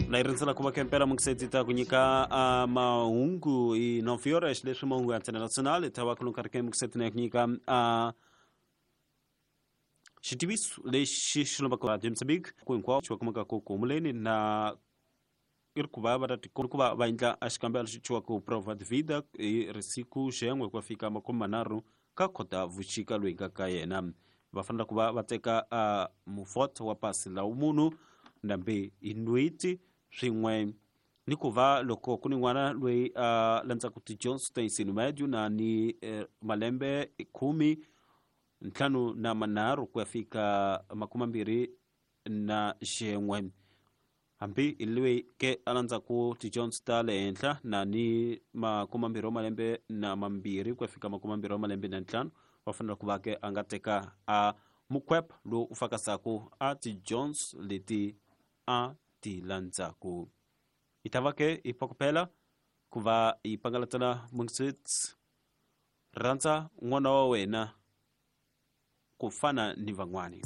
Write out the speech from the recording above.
Na yi rindzela ku va kempela mungisedzi ta ku nyika mahungu hi 9 horas, leswi mahungu ya Antena Nacional ta va kulunka ri ke mungisedzi na ku nyika xitiviso lexi xi lombaka Radio Mozambique ku hinkwawo xi va kumaka ku humuleni na i ri ku va va ta ku va va endla a xikambelo xi thyiwaka prova de vida hi risiku xen'we ku ya fika makume manharhu ka khota vuxika loyi nga ka yena. Va fanele ku va va teka mufoto wa pasi la munhu ndambe hi nweti swin'we ni ku va loko ku ni n'wana loyi a landzaka tidyondzo ta ensino médio na ni malembe 53 ku ya fika 21, hambi hi loyi ke a landzaku tidyondzo ta le henhla na ni 22 ku ya fika 25, va fanele ku va ke a nga teka a mukhwepha lowu u fakasaku a tidyondzo leti a ti landzaku. Hi ta va ke hi phokopela ku va hi pangalatela mungisits rhandza n'wana wa wena ku fana ni van'wani.